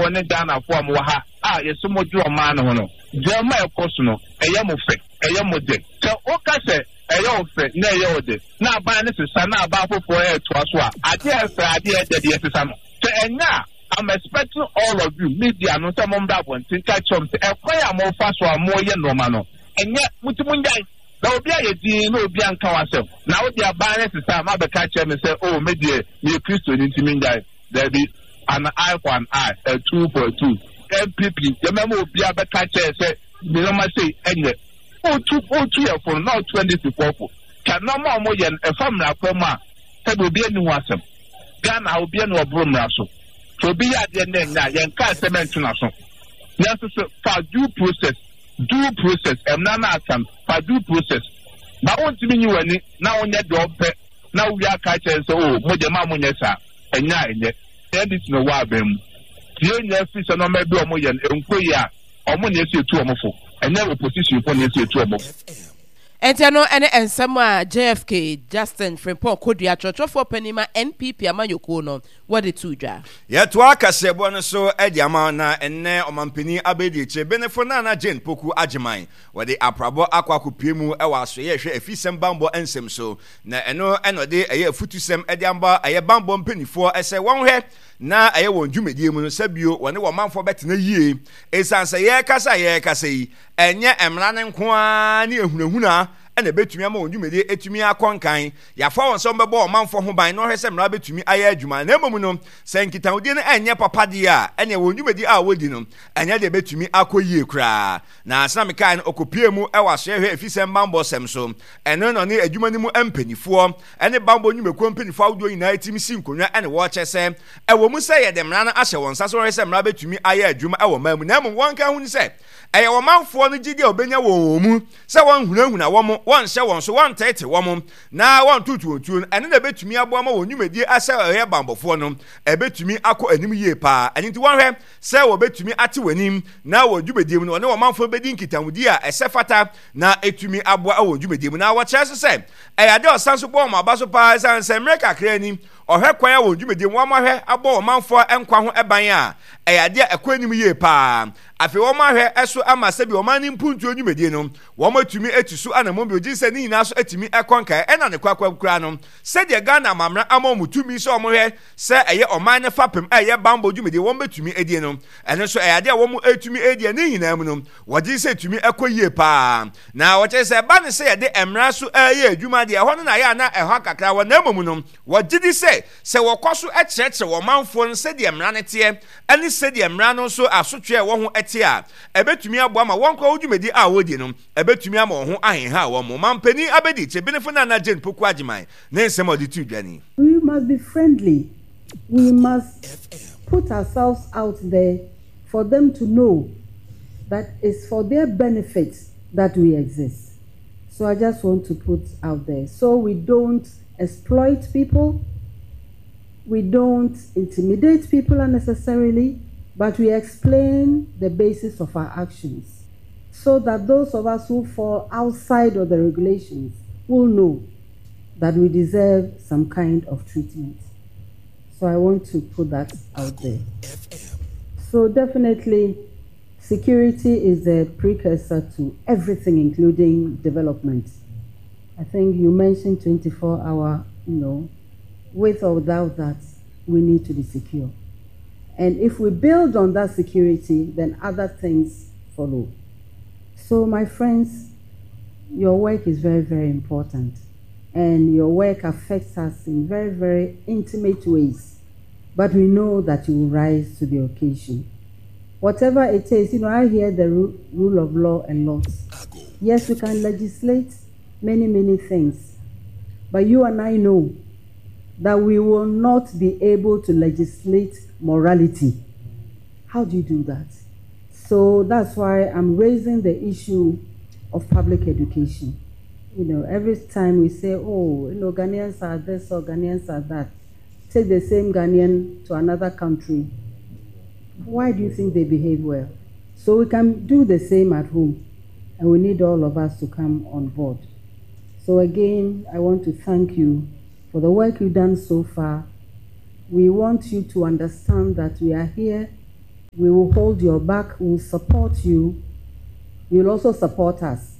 Accrafoɔ ne Ghanafoɔ a mowɔ ha a yɛse modwene ɔman no ho no, deɛma a ɛkɔ so no, ɛyɛ mo fɛ, ɛyɛ mo dɛ? Sɛ woka sɛ ɛyɛ wo fɛ na ɛyɛ wo dɛ, na aban no sesa na aban foforɔ retoa so a, adeɛ a ɛfɛ, adeɛ a ɛdɛ deɛ ɛsesa no. Sɛ ɛnyɛ a, I'm expecting all of you, media no, sɛ mommra abɔnten nka kyerɛ wɔn sɛ ɛkwan a mofa so a moreyɛ nnoɔma no, ɛnyɛ, mo nti monnyae. Na obi ayɛ dinn na obi anka w'asɛm, na wo deɛ aban no sesa a, moabɛka akyerɛ me sɛ, oh, me deɛ, meyɛ Kristoni nti mennyae. Dabi, an eye for an eye, a tooth for a tooth. NPP, yɛmɛma obiara bɛka kyerɛ sɛ nneɛma sei ɛnyɛ. Wotu wotu yɛ fo no na wotu NDC foɔ fo. Ka nneɛma a wɔyɛ no ɛfa mmara kwan mu a, sɛbi obi ani ho asɛm. Ghana ha obi ani ɔboro mmara so. Sɛ obi yɛ adeɛ na ɛnyɛ a, yɛnka asɛm ɛnto n'aso. Nanso so fa due process, due process, mmara no aka no, fa due process. Ba wontumi nyi w'ani na wonyɛ deɛ ɔpɛ na wowie aka akyerɛ no sɛ, oh, mo deɛ ma monyɛ saa. Ɛnyɛ a ɛnyɛ. NDC na ɛwɔ aban mu. Tie nyɛ firi sɛ nneɛma bi a wɔyɛ no ɛnkɔ yie a, wɔn na ɛsɛ etu wɔn fo. Ɛnyɛ opposition fo na ɛsɛ etu wɔn fo. Enti ɛno ne nsɛm a JFK, Justin Frimpong Kodua, kyerɛkyerɛfoɔ panin ma NPP amanyɔkuo no, wɔde too dwa. Yɛtoa kaseɛbɔ no so de ama wo na ɛnnɛ ɔmanpanin abadiakyire Benefo Nana Jane Poku Agyeman wɔde aprabɔ akɔ akɔpue mu wɔ asoɛeɛ ɛhwɛ afisɛm banbɔ nsɛm so na ɛno na ɔde ɛyɛ afutusɛm de ama ɛyɛ banbɔ mpaninfoɔ sɛ wɔnhwɛ na ɛyɛ wɔn dwumadie mu no sɛ bio wɔne wɔn manfoɔ bɛtena yie ɛsiane sɛ yɛrekasa a yɛrekasa yi ɛnyɛ mmara no nko ara ne ahunahuna na ɛbɛtumi ama wɔn dwumadie atumi akɔ nkan. Yɛafa wɔn sɛ wɔbɛbɔ ɔmanfoɔ ho ban na wɔhwɛ sɛ mmara bɛtumi ayɛ adwuma. Na mmom no, sɛ nkitahodie no ɛnyɛ papa deɛ a, ɛneɛ wɔn dwumadie a wɔdi no, ɛnyɛ deɛ ɛbɛtumi akɔ yie koraa. Na sɛnea mekae no, ɔkɔpuee mu wɔ asoɛhwɛ efisɛm bammɔ sɛm so. Ɛno na ɔne adwuma no mu mpanimfoɔ ne bammɔ nnwumakuo mpanimfoɔ ahodoɔ nyinaa tumi si nkonnwa ne wɔkyɛ sɛ, ɛwɔ mu sɛ yɛde mmara no ahyɛ wɔn nsa sɛ wɔhwɛ sɛ mmara bɛtumi ayɛ adwuma wɔ ɔman mu, na mmom wɔnka ho ne sɛ, ɛyɛ ɔmanfoɔ no gyidie a wɔbɛnya wɔ wɔn mu sɛ wɔnhunahuna wɔn, wɔnhyɛ wɔn so, wɔnteete wɔn, na wɔntoto wɔn tuo no, ɛno na ɛbɛtumi aboa ma wɔn nnwumadie sɛ wɔyɛ bammɔfoɔ no, ɛbɛtumi akɔ anim yie paa. Ɛno nti wɔnhwɛ sɛ wɔbɛtumi ate wɔn anim na wɔ dwumadie mu no wɔne ɔmanfoɔ bɛdi nkitahodie a ɛsɛ fata na ɛtumi aboa wɔ dwumadie mu. Na wɔkyerɛ nso sɛ ɛyɛ adeɛ a ɔsan so bɔ wɔn aba so paa ɛsiane sɛ mmerɛ kakra ni ɔhwɛ kwan a wɔn dwumadie mu wɔahwɛ abɔ ɔmanfoɔ nkwa ho ban a ɛyɛ adeɛ a ɛkɔ anim yie paa. Afei wɔahwɛ so ama sɛbi ɔman no mpuntuo dwumadie no wɔatumi atu so anammɔn bio gye sɛ ne nyinaa so atumi ɛkɔ nkaeɛ ɛna ne kwakwa koraa no sɛdeɛ Ghana amammerɛ ama wɔn tumi sɛ wɔhwɛ sɛ ɛyɛ ɔman no fapem a ɛyɛ bammɔ dwumadie wɔn bɛtumi adie no, ɛno nso ɛyɛ adeɛ a wɔn ɛtumi adie. Ne nyinaa mu no, wɔgye sɛ ɛtumi ɛkɔ yie paa. Na wɔkyerɛ sɛ ɛba ne sɛ yɛde mmara so ɛyɛ adwuma deɛ, ɛhɔ no na ɛyɛ a na ɛha kakra wɔ, na mmom no, wɔgye di sɛ sɛ wɔkɔ so kyerɛkyerɛ wɔn manfoɔ no sɛdeɛ mmara no teɛ ɛne sɛdeɛ mmara no nso asotweɛ a ɛwɔ ho te a, ɛbɛtumi aboa ma wɔn koraa wɔ dwumadie a wɔredie no, ɛbɛtumi ama wɔn ho ahenha wɔn. Ɔmanpanin Abɛdikyire Benefo Nana Jane Poku Agyeman ne nsɛm a ɔde too dwa ni. We must be friendly. We must put ourselves out there for them to know that it's for their benefit that we exist. So I just want to put out there. So we don't exploit people, we don't intimidate people unnecessarily, but we explain the basis of our actions so that those of us who fall outside of the regulations will know that we deserve some kind of treatment. So I want to put that out there. So definitely, security is the precursor to everything, including development. I think you mentioned 24-hour, with or without that, we need to be secure. And if we build on that security, then other things follow. So my friends, your work is very, very important. And your work affects us in very, very intimate ways. But we know that you will rise to the occasion. Whatever it is, I hear the rule of law a lot. Yes, we can legislate many, many things. But you and I know that we will not be able to legislate morality. How do you do that? So that's why I'm raising the issue of public education. Every time we say, oh, Ghanaians are this or Ghanaians are that, take the same Ghanaian to another country. Why do you think they behave well? So we can do the same at home, and we need all of us to come on board. So again, I want to thank you for the work you've done so far. We want you to understand that we are here. We will hold your back, we will support you, you will also support us.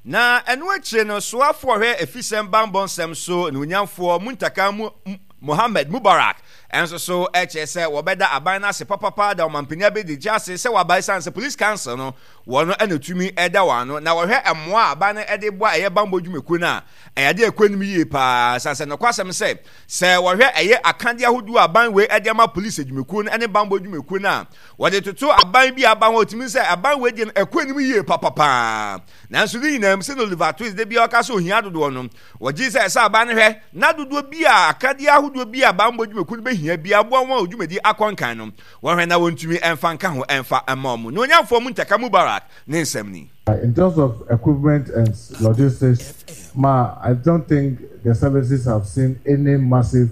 Na ɛno akyire no, soafoɔ ɔhwɛ afisɛm banbɔ nsɛm so anuonyamfoɔ Muntaka Mohammed Mubarak nso so kyerɛ sɛ wɔbɛda aban no ase papapa da ɔmampanin abɛdi ase sɛ waba ɛsiane sɛ Police Council no wɔn na tumi da wɔn ano na wɔhwɛ mmoa a aban no de boa ɛyɛ banbɔ dwumakuo no a ɛyɛ adeɛ a ɛkɔ anim yie paa ɛsiane sɛ nokwasɛm sɛ sɛ wɔhwɛ ɛyɛ akadeɛ ahodoɔ a aban wei de ama polisi adwumakuo no ne banbɔ adwumakuo no a wɔde toto aban bi a aba ho ɔtumi sɛ aban wei deɛ no ɛkɔ anim yie papapaa nanso ne nyinaa mu sɛ no Oliver Twist de bia ɔka sɛ ohia dodoɔ no wɔgye sɛ ɛsɛ aban no hwɛ na dodoɔ bi a akadeɛ ahodoɔ bi a banbɔ adwumakuo no bɛhia bi aboa wɔn a dwumadi akɔ nkan no wɔhwɛ na wɔntumi ɛmfa nka ho ɛmfa ɛma wɔn na onyanfoɔ Muntaka Mubarak ne nsɛm ni. In terms of equipment and logistics, ma, I don't think the services have seen any massive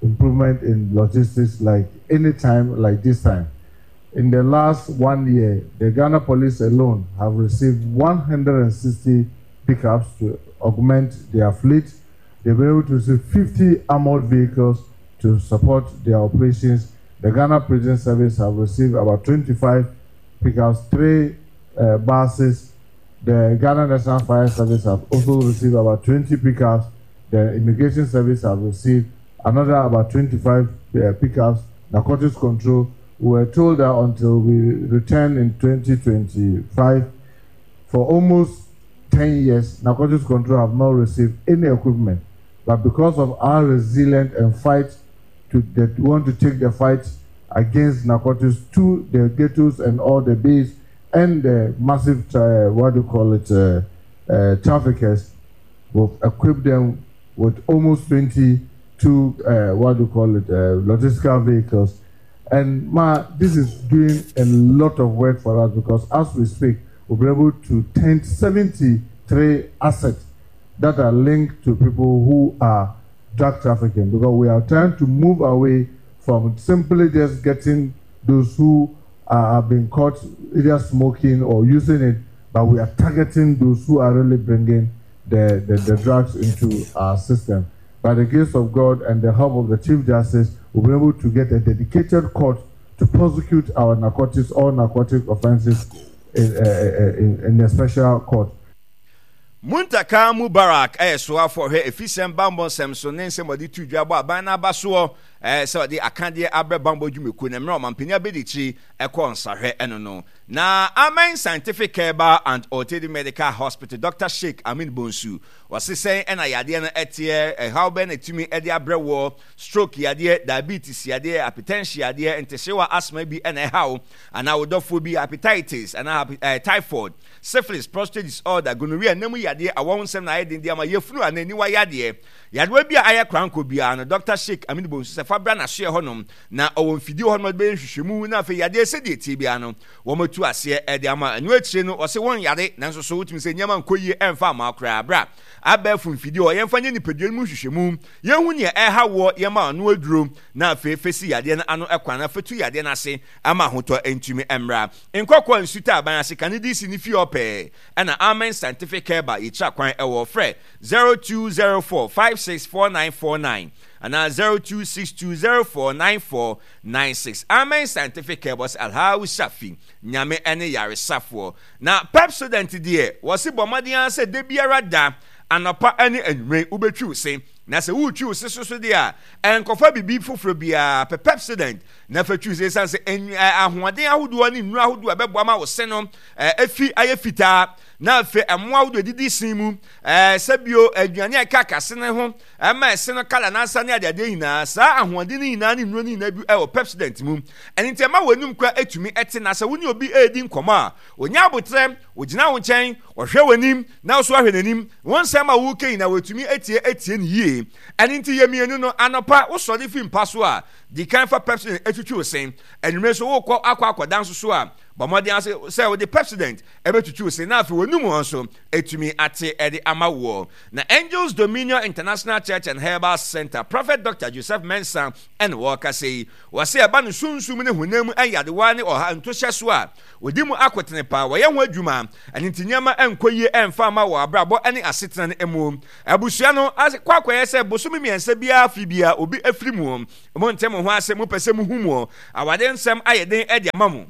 improvement in logistics like any time like this time. In the last one year, the Ghana police alone have received 160 pickups to augment their fleet. They've been able to receive 50 armored vehicles to support their operations. The Ghana Prison Service have received about 25 pickups, three buses. The Ghana National Fire Service have also received about 20 pickups. The Immigration Service have received another about 25 pickups. Narcotics Control, we were told that until we return in 2025, for almost 10 years, Narcotics Control have not received any equipment. But because of our resilience and fight to that want to take the fight against narcotics to the ghettos and all the bays and the massive, what do you call it, traffickers, we've equipped them with almost 22, what do you call it, logistical vehicles. And ma, this is doing a lot of work for us because as we speak, we'll be able to tend 73 assets that are linked to people who are drug trafficking because we are trying to move away from simply just getting those who are, have been caught either smoking or using it, but we are targeting those who are really bringing the, the, the drugs into our system. By the grace of God and the help of the Chief Justice, we'll be able to get a dedicated court to prosecute our narcotics, all narcotic offenses in, in, in a special court. Muntaka Mubarak yɛ soafo a ɔhwɛ afisɛm, bammɔ nsɛm so ne nsɛm a ɔde to dwa bɔ aban no aba soɔ sɛ ɔde akadeɛ abrɛ bammɔ dwumakuo no mmerɛ ɔmampanin abadiakyiri kɔɔ nsrahwɛ no no. Na Amen Scientific Herbal and Alternative Medical Hospital Dɔkta Sheik Amin Bonsu ɔse sɛn na yadeɛ no teɛ, ɛhaw bɛn na ɛtumi de abrɛ woɔ, stroke yadeɛ, diabetes yadeɛ, hypertension yadeɛ, ntehyewa asthma bi na ɛha wo anaa wo dɔfoɔ bi, hepatitis anaa typhoid, Syphilis, prostate disorder, gonorrhea, nna mu yadeɛ, awɔ ho nsɛm na ayɛ den de ama yafunu anaa aniwa yadeɛ. Yadewa bi a ayɛ korankɔ biara no, Dɔkta Sheik Aminu Bonsu sɛ fa bra n'asoɛɛ hɔnom na ɔwɔ mfidie wɔ hɔnom a ɔde bɛyɛ nhwehwɛmu na afei yadeɛ sɛdeɛ ɛteɛ biara no wɔatu aseɛ de ama. Ɛno akyire no ɔse wɔnyare nanso so wotumi sɛ nneɛma nkɔ yie ɛmfa mma wo koraa. Bra abɛɛfo mfidie hɔ yɛmfa nyɛ nipadua no mu nhwehwɛmu, yɛnhu nea ɛreha woɔ, yɛmma ano aduro na afei fa si yadeɛ no ano kwan na fa tu yadeɛ no ase ama ahotɔ ntumi mmra. Nkɔkɔɔ nsu taaban ase kane DC ne fie hɔ pɛɛ ɛna Amen Scientific Herbal yɛkyira kwan ɛwɔ frɛ 0204 564949 anaa 0262 049496 Amen Scientific Herbal wɔse Alhawu Shafi Nyame ɛne yaresafoɔ na Pepsodent deɛ wɔse bɔ mmɔden ara sɛ da biara da anɔpa ɛne anwummere wobɛtwi wo se na sɛ woretwi wo se so so deɛ a ɛnkɔfa biribi foforɔ biara pɛ Pepsodent Na fa twi sɛ esiane sɛ ahoɔden ahodoɔ ne nnuro ahodoɔ a ɛbɛboa ma wo se no afi ayɛ fitaa, na afei mmoa ahodoɔ adidi se mu, sɛ bio aduane a ɛka kase no ho ɛma ɛse no kala n'asa ne adeadeɛ nyinaa, saa ahoɔden no nyinaa ne nnuro no nyinaa bi wɔ Pepsodent mu. Ɛno nti ɛma w'anum kora ɛtumi ɛte, na sɛ wo ne obi ɛredi nkɔmmɔ a, ɔnya aboterɛ, ɔgyina wo nkyɛn, ɔhwɛ w'anim, na wo nso ahwɛ n'anim, wo nsɛm a woreka nyinaa wɔatumi atie atie no yie. Ɛno nti yɛ mmienu no, anɔpa wosɔre fi mpa so a, Di kan fa Pepsodent twitwi wo se. Anwummere nso worekɔ akɔ akɔda nso so a, Bɔ mmɔden ara sɛ wode Pepsodent bɛtwitwi wo se na afei w'anum hɔ nso atumi ate de ama woɔ. Na Angels Dominion International Church and Herbal Center, Prophet Doctor Joseph Mensah na ɔrekasa yi. Wɔse ɛba no sunsum ne honam mu nyadewa ne ɔha ntohyɛso a, wɔdi mu akotene paa, wɔyɛ ho adwuma, ɛno nti nneɛma nkɔ yie ɛmfa mma wɔ abrabɔ ne asetena no mu. Abusua no akɔ akɔyɛ sɛ bosome mmiɛnsa biara afe biara obi afiri mu. Monte mo ho ase, mopɛ sɛ muhu mo awadeɛ nsɛm ayɛ den de ama mo.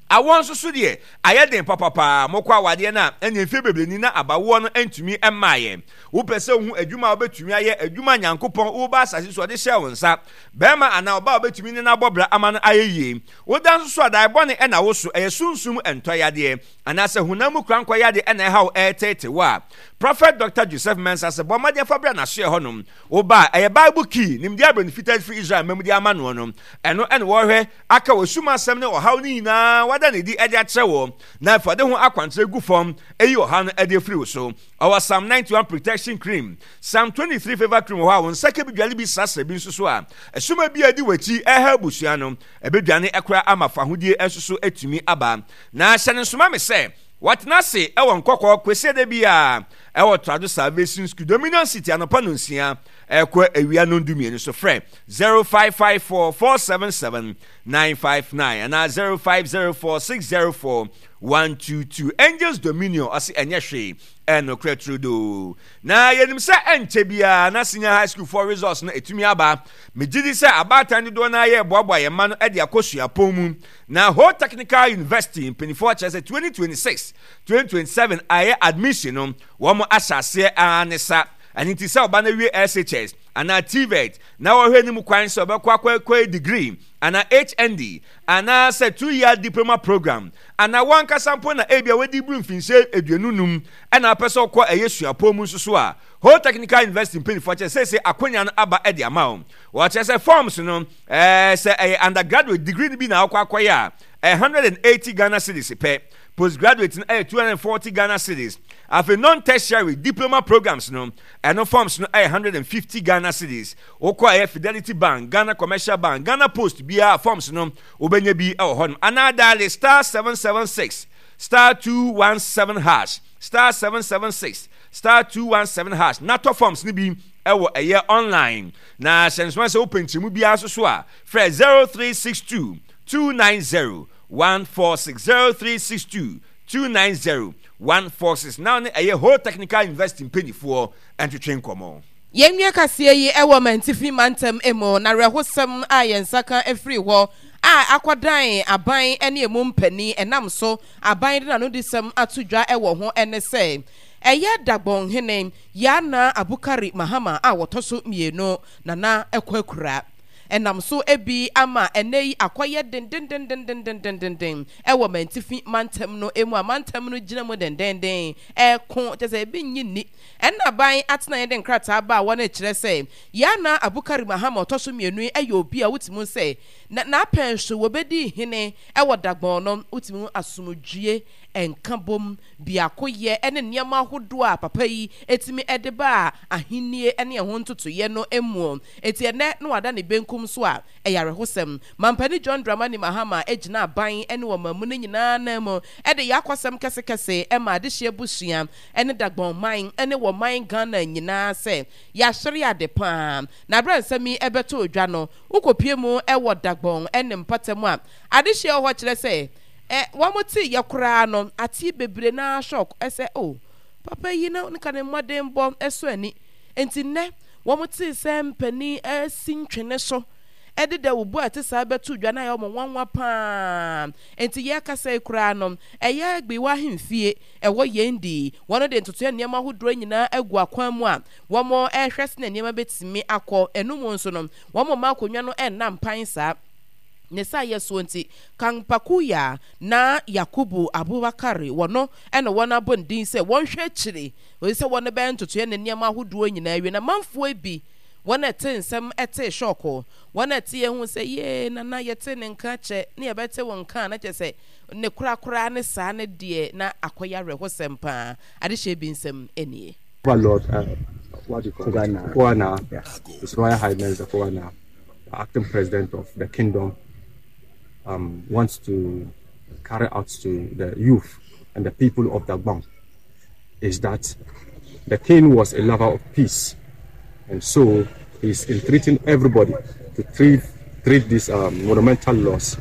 Awoɔ nso so deɛ, ayɛ den papapaa. Mokɔ awadeɛ no a, ɛnneɛ mfeɛ bebree ni na abawoɔ no ntumi mmaeɛ. Wopɛ sɛ wohu adwuma a wobɛtumi ayɛ, adwuma a Nyankopɔn woreba asase so ɔde hyɛɛ wo nsa, barima anaa ɔbaa a wobɛtumi ne no abɔ bra ama no ayɛ yie. Woda nso so a, dae bɔne na wo so, ɛyɛ sunsum ntɔyadeɛ, anaasɛ honam mu korankɔ yadeɛ na ɛha wo ɛreteete wo a, Prophet Doctor Joseph Mensah sɛ bɔ mmɔden fa bra n'asoɛɛ hɔnom. Wo ba a, ɛyɛ Bible key, nimdeɛ a Broni Fitaa firi Israel mma mu de ama noɔ no, ɛno na wɔrehwɛ aka wɔ sum asɛm ne ɔhaw no nyinaa wada no adi de akyerɛ wo, na afei ɔde ho akwankyerɛ gu fam ayi ɔhaw no de afiri wo so. Ɔwɔ Psalm 91 Protection Cream, Psalm 23 Favor Cream wɔ hɔ a wo nsa ka bi dwale bi srasra bi nso so a, ɛsoma bi a ɛdi w'akyi ɛreha abusua no, ɛbɛdwane koraa ama fahodie nso so atumi aba. Na hyɛ no nso ma me sɛ, Wɔatena ase wɔ Nkɔkɔɔ Kwasiada biara wɔ Trado Salvation School, Dominion City anɔpa nonsia ɛkɔ awia nondumienu so. Frɛ 0554 477 959 anaa 0504 604 122. Angels Dominion ɔse ɛnyɛ hwee, ɛnokorɛ turodoo. Na yɛnim sɛ ɛnkyɛ biara na senior high school foɔ results no ɛtumi aba. Megye di sɛ abaatan dodoɔ no ara yɛreboaboa yɛn mma no de akɔ suapɔn mu. Na Ho Technical University mpaninfoɔ kyerɛ sɛ 2026, 2027 a ɛyɛ admission no wɔn ahyɛ aseɛ ara ne sa. Ɛno nti sɛ ɔba no awie SHS anaa TVET na wɔhwɛ ne mu kwan sɛ ɔbɛkɔ akɔyɛ degree anaa HND anaa sɛ 2-year diploma program anaa wɔn ankasa mpo na ebia wadi buru mfinhyia 25 ɛna apɛ sɛ ɔkɔ ɛyɛ suapɔn mu nso so a, Ho Technical University mpaninfoɔ kyerɛ sɛ seesei akwanya no aba de ama wɔn. Wɔkyerɛ sɛ forms no Ɛɛ sɛ ɛyɛ undergraduate degree no bi na wokɔ akɔyɛ a, ɛyɛ 180 Ghana cedis pɛ. Postgraduate no ɛyɛ 240 Ghana cedis. Afei non-tertiary diploma programs no, ɛno forms no ɛyɛ 150 Ghana cedis. Wokɔ ɛyɛ Fidelity Bank, Ghana Commercial Bank, Ghana Post biara forms no wobɛnya bi wɔ hɔnom. Anaa diale star 776 star 217 hash star 776 star 217 hash na tɔ forms no bi wɔ ɛyɛ online. Na hyɛ nsoma sɛ wopɛ nkyerɛmu biara nso so a, frɛ 0362 290 146, 0362 290 146 na wo ne ɛyɛ Ho Technical University mpanimfoɔ ntwetwe nkɔmmɔ. Yɛnwie kaseɛ yi wɔ Mantifi mantam mu, na awerɛhosɛm a yɛn nsa ka firi hɔ a akɔdan aban ne emu mpanin ɛnam so aban de n'anodisɛm ato dwa wɔ ho ne sɛ, ɛyɛ Dagbonhene Yana Abukari Mahama a wɔtɔ so mmienu, Nana Kwakura. Ɛnam so bi ama ɛnnɛ yi akɔyɛ dendendendendendendenden wɔ Mantifi mantam no mu a mantam no gyina mu dendenden reko, kyerɛ sɛ ebi nnye nni. Ɛnna aban atenaeɛ de nkrataa baa wɔn rekyerɛ sɛ Yana Abukari Mahama a ɔtɔ so mmienu yi yɛ obi a wotumi hu sɛ n'apɛn so wɔbɛdii hene wɔ Dagbon no, wotumi hu asomdwie nkabom, biakoyɛ ne nneɛma ahodoɔ a papa yi tumi de baa ahennie ne ɛho ntotoeɛ no mu. Enti ɛnnɛ na wada ne benkum so a, ɛyɛ awerɛhosɛm. Mampanin John Dramani Mahama gyina aban ne ɔman mu no nyinaa nan mu de yɛ akwasɛm kɛsekɛse ma adehyeɛ abusua ne Dagbon man ne wɔman Ghana nyinaa sɛ yɛahwere ade pa ara. Na berɛ a nsɛm yi bɛtoo dwa no, wokɔpue mu wɔ Dagbon ne mpɔtam a adehyeɛ wɔ hɔ kyerɛ sɛ Ɛ wɔn tee yɛ koraa no atee bebree no ara shock sɛ oh papa yi na nka ne mmɔdenbɔ sɔ ani nti nnɛ wɔn tee sɛ mpanin asi ntwene so de dawubɔ a ɛte saa bɛto dwa no ayɛ wɔn nwanwa paa nti yɛrekasa yi koraa no ɛyɛ Gbewa ahemfie ɛwɔ yɛn di wɔn de ntotoeɛ nneɛma ahodoɔ nyinaa agu akwan mu a wɔn rehwɛ sɛnea nneɛma bɛtumi akɔ ɛno mu nso no wɔn mma akonnwa no nna mpan saa. Ne saayɛ soɔ nti, Kampakuya na Yakubu Abubakari wɔ no na wɔn abɔ ne din sɛ wɔnhwɛ akyire kɔsi sɛ wɔn bɛyɛ ntotoeɛ ne nneɛma ahodoɔ nyinaa awie. Na manfoɔ bi, wɔn a ɛte nsɛm tee shɔɔko, wɔn a ɛteɛ hu sɛ yee Nana yɛtee ne nka kyɛ ne yɛbɛte wo nka a na kyerɛ sɛ ne korakora ne saa ne deɛ na akɔyɛ awerɛhosɛm paa. Adehyeɛ bi nsɛm nie. Overlord, what do you call it? Koana, His Royal Highness the Koana, the acting president of the kingdom, wants to carry out to the youth and the people of Dagbon is that the king was a lover of peace, and so he's entreating everybody to treat, treat this um, monumental loss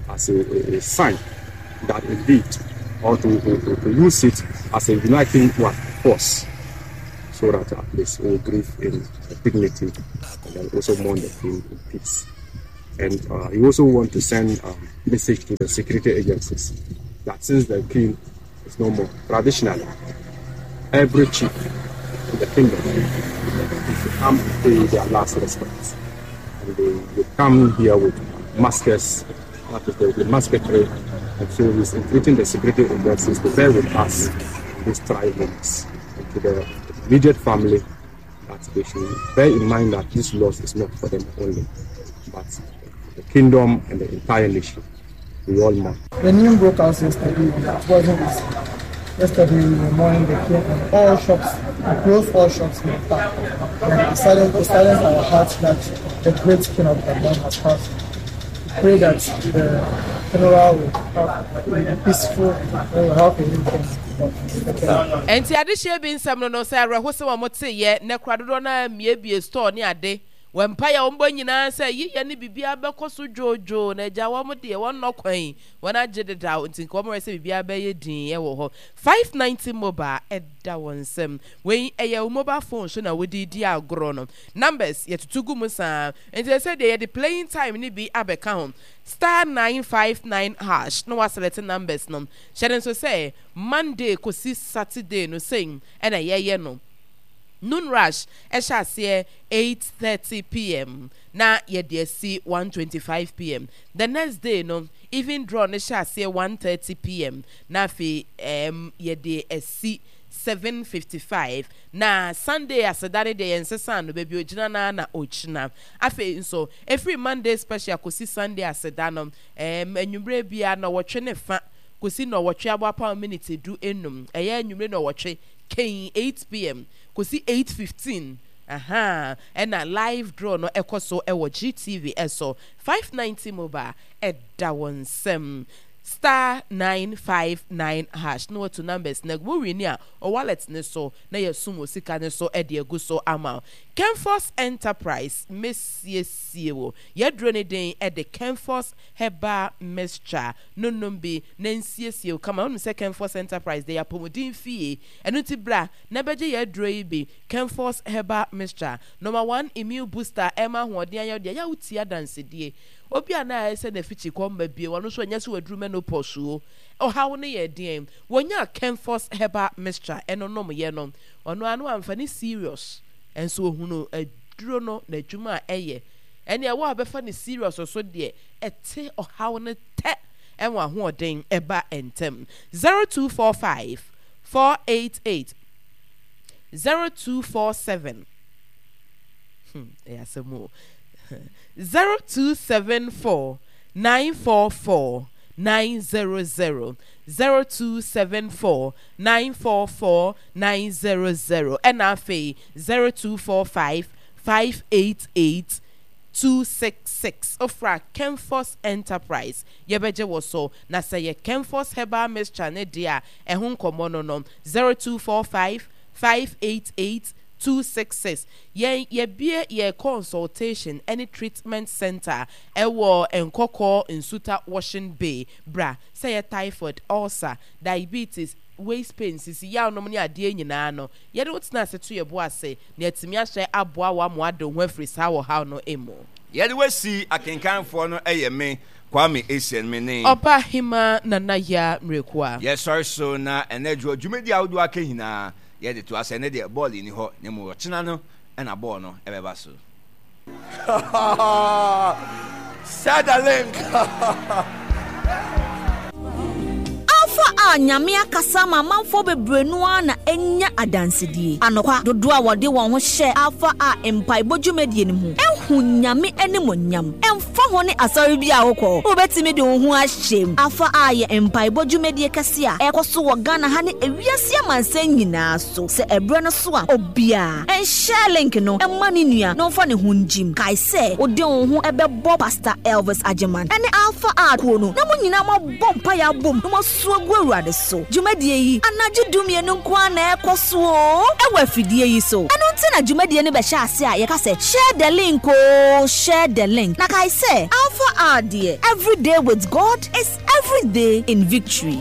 as a, a, a sign that indeed, or to, to, to use it as a uniting what, force, so that at least we will grieve in dignity and then also mourn the king in peace. And uh, he also want to send a message to the security agencies that since the king is no more, traditionally, every chief in the kingdom is to come pay their last respects. And they, they come here with maskers, that is, there will be musketry. And so he's entreating the security agencies to bear with us these trying moments. And to the immediate family, that they should bear in mind that this loss is not for them only, but the kingdom and the entire nation. We all mourn. The news broke out yesterday. It wasn't easy. Yesterday in the morning, they came and all shops, we closed all shops in the park. And it silent, it silenced our hearts that the great king of Dagbon has passed. We pray that the funeral will, have, will be peaceful and will have a new king. Enti adehyeɛ bi nsɛm no no sɛ awerɛhosɛm a wɔteeɛ nnɛ koraa dodoɔ no ara mmiebie store ne ade wɔ mpaeɛ a wɔbɔ nyinaa sɛ yiyɛ ne biribiara bɛkɔ so dwoodwoo na agya wɔn deɛ wɔnnɔ kwan yi wɔn agye dedaw nti nka wɔn rɛ sɛ biribiara bɛyɛ dinn wɔ hɔ 590 mobile ɛda wɔn nsam wei ɛyɛ wo mobile phone so na wode di agorɔ no numbers yɛtoto gu mu saa nti ɛsɛ deɛ yɛde playing time no bi abɛka ho star 959 hash na waselect numbers no hyɛ no nso sɛ Monday kɔsi Saturday no sei na yɛyɛ no. Noon rush hyɛ aseɛ 8:30 pm na yɛde asi 1:25 pm. The next day no even draw no hyɛ aseɛ 1:30 pm na afei um, yɛde asi 7:55 na Sunday aseda no deɛ yɛnsesaa no baabi ogyina no ara na ogyina. Afei nso ɛfiri Monday special kɔsi Sunday aseda no um, anwummerɛ biara nnɔwɔtwe ne fa kosi nnɔwɔtwe aboapam miniti du enum, ɛyɛ anwummere nnɔwɔtwe, kɛn, 8 pm, kosi 8:15, ahaa, ɛna live draw no ɛkɔ so ɛwɔ GTV ɛso, 590 mobile ɛda wo nsam, star 959 hash na watu numbers no agu, wo wini a, wo wallet no so na yɛasum wo sika no so de agu so ama wo. Kenfos Enterprise mɛsiesie wo, yɛaduro no din de Kenfos Herbal Mixture. no nom bi na nsiesie wo kama. Wonim sɛ Kenfos Enterprise deɛ yɛ apɔmuden fie, ɛno nti bra na bɛgye yɛn aduro yi bi, Kenfos Herbal Mixture, Number one Immune Booster a ɛma ahoɔden ayɛ wo deɛ, ɛyɛ a wotie adansedie. Obi a na ayɛ sɛ n'afikyi kɔ mma bio, ɔno nso ɛnyɛ sɛ waduru menopause o, ɔhaw no yɛ deɛn? Wɔnyaa Kenfos Herbal Mixture ɛno nomyɛ no, ɔno ara no wamfa no serious, nso ɔhunuu aduro no n'adwuma a ɛyɛ. Ɛnneɛ wo a wobɛfa no serious nso deɛ, ɛte ɔhaw no tɛ ɛwɔ ahoɔden ɛba ntɛm. 0245 488 0247 hmm ɛyɛ asɛm o 0274 944 900 0274 944 900 ɛna afei 0245 588 266 Wofra Kenfos Enterprise yɛbɛgye wo so Na sɛ yɛ Kenfos Herbal Mixture no deɛ a ɛho nkɔmmɔ no no 0245 588 266 Yɛn yɛabue yɛn consultation ne treatment centre ɛwɔ Nkɔkɔɔ Nsuta Washing Bay Bra sɛ yɛ typhoid, ulcer, diabetes, waist pain, sisi yaw nom ne adeɛ nyinaa no Yɛde wo tena ase to yɛn bo ase na yɛatumi ahyɛ aboa wo ama woade wo ho afiri saa ɔhaw no mu. Yɛde wo asi akenkanfoɔ no yɛ me, Kwame Essien, me ne. Ɔbaahemaa Nana Yaa Mmerɛkua. Yɛsɔre so na ɛnɛ dwoɔ dwumadie ahodoɔ aka nyinaa yɛde toa so. Ɛnɛ deɛ bɔɔl nni hɔ na mmom ɔkyena no na bɔɔl no bɛba so. Sadalink. Alpha a Nyame akasa ama amanfoɔ bebree no ara na anya adansedie. Anokwa, dodoɔ a wɔde wɔn ho hyɛɛ Alpha A mpaebɔ dwumadie no mu ahu Nyame animuonyam. Ɛmfa. Ɛmfa ho ne asɔre bi a wokɔ, wobɛtumi de wo ho ahyɛ mu. Afa a yɛ mpaebɔ dwumadie kɛse a ɛrekɔ so wɔ Ghana ha ne ewiase amansan nyinaa so. Sɛ ɛberɛ no so a, obiara nhyɛ link no mma ne nua na ɔmfa ne ho ngyim. Kae sɛ wode wo ho bɛbɔ Pastor Elvis Agyeman ne Alpha A kuo no na mo nyinaa moabɔ mpaeɛ abom na moasu agu Awurade so. Dwumadie yi, anadwo dumienu nko ara na ɛrekɔ so oo, ɛwɔ afidie yi so. Ɛno nti na dwumadie no bɛhyɛ ase a yɛka sɛ share the link oo, share the link. Na kae sɛ, Alpha A deɛ, every day with God is every day in victory.